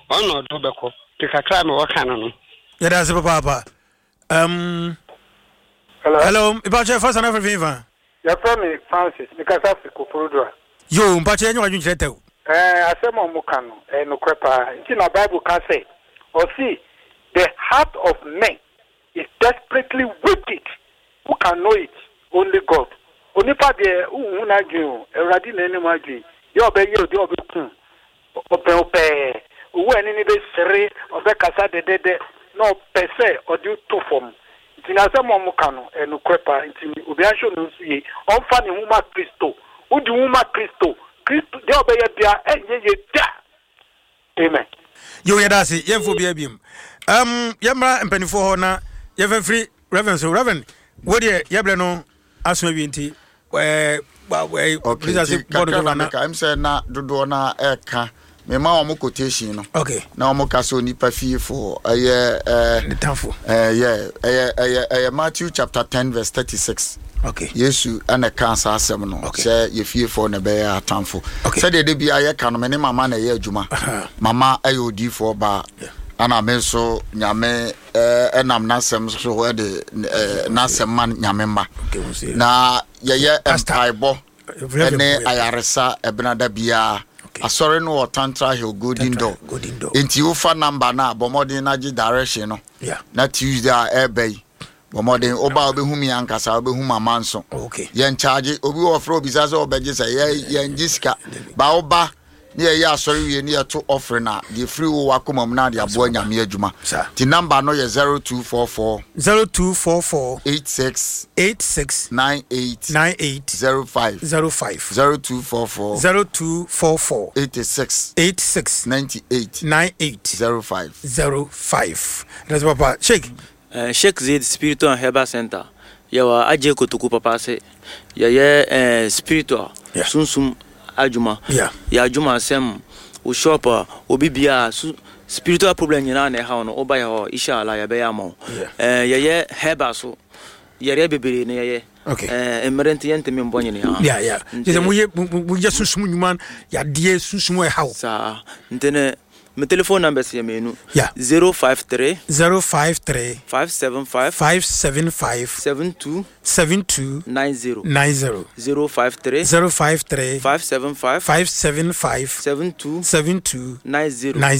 Ɔno na ɔde wo bɛkɔ. Nti kakra a mewɔ ka no no. Yɛda ase papaapa. Um, Hello. Hello, mpakyɛ fa sana firi fa. Yɛfrɛ me Francis, mekasa firi Koforidua. Yo, mpakyɛ yɛnyɛ wadwenkyerɛ tɛw. Ɛɛ, asɛm a wɔka no, ɛyɛ nokorɛ paa. Nti na Bible ka sɛ, ɔse, The heart of men is desperately wicked, who can know it? Only God. Onipa deɛ, wonhu n'adwene o, Awurade na ɛnim adwene. Deɛ ɔbɛyɛ o, deɛ ɔbɛku o, ɔbɛn wo pɛɛ. Owu a ɛne no bɛsere, ɔbɛkasa dɛdɛdɛ, na ɔpɛ sɛ ɔde wo to fam. Nti n'asɛm a wɔka no, ɛyɛ nokorɛ paa. Nti obiara nhwɛ ne ho so yie, ɔmfa ne ho ma Kristo. Wode wo ho ma Kristo, Kristo, deɛ ɔbɛyɛ biara, ɛnyɛ yie da. Amen. Yo, yɛda ase. Yɛmfa obiara biom. Um, yɛmmra mpanimfoɔ hɔ na yɛmfa mfiri Reverend so. Reverend, wo deɛ yɛbrɛ no aso awie nti ɛɛ okay, nti kakra na meka ɛm sɛ na dodoɔ no ɛka mema wɔn quotation no okay. na wɔn ka sɛ onipa fiefo ɛyɛ ɛɛ ɛyɛ ɛyɛ ɛyɛ ɛyɛ Matthew chapter 10 verse 36. Okay. Yesu na ɛkaa saa asɛm no okay. sɛ yɛ fiefoɔ na ɛbɛyɛ atamfo. Okay. Sɛdeɛ de bia yɛka no me ne mama na ɛyɛ adwuma. Mama ɛyɛ odiifoɔ baa. Yeah. Ana me nso Nyame ɛnam n'asɛm so ɛde n'asɛm ma Nyame mma. Okay, na yɛyɛ mpaebɔ ɛne ayaresa ɛbenada biara. Okay. Asɔre no wɔ Tantra Hill Golden Door. Golden Door. Nti wofa number no a bɔ mmɔden na gye direction no. Yeah. Na Tuesday a ɛreba yi Bɔ mmɔden, woba a wobɛhu me ankasa, wobɛhu mama nso. Okay. Yɛn charge, obi wɔ frɛ obisa sɛ ɔbɛgye sɛ yɛ yɛn gye sika. Ba woba ne yɛyɛ asɔre wie ne yɛto offering a, deɛ firi wo wakoma mu na de aboa Nyame adwuma. Saa. Ti number no yɛ 0244 0244 86 86 98 98 05 05 0244 0244 86 86 98 98 05. 05. That's papa. Sheikh. Sheikh Zaid Spiritual and Herbal Centre, Yɛwɔ Adjei Kotoku papa ase. Yɛyɛ eh, spiritual, Yeah. sunsum adwuma. Yeah. Yɛ adwuma asɛm, wo shop a, obi biara, su, spiritual problem nyinaa na ɛhaw no, woba yɛ hɔ, inshallah yɛbɛyɛ ama wo. Yeah. Eh, yɛyɛ herbal so, yareɛ bebree na yɛyɛ. Okay. Eh, mmerɛ nti yɛntumi mbɔ nyinaa. Yeah. Nti- Kyerɛ sɛ moyɛ moyɛ sunsum nnwuma, yadeɛ sunsum ɛhaw. Saa. Nti ne, Me telephone numbers yɛ mmienu. Yeah. 053. 053. 575. 575. 72. 72. 90. 90. 053. 053. 575. 575. 72. 72. 90. 90.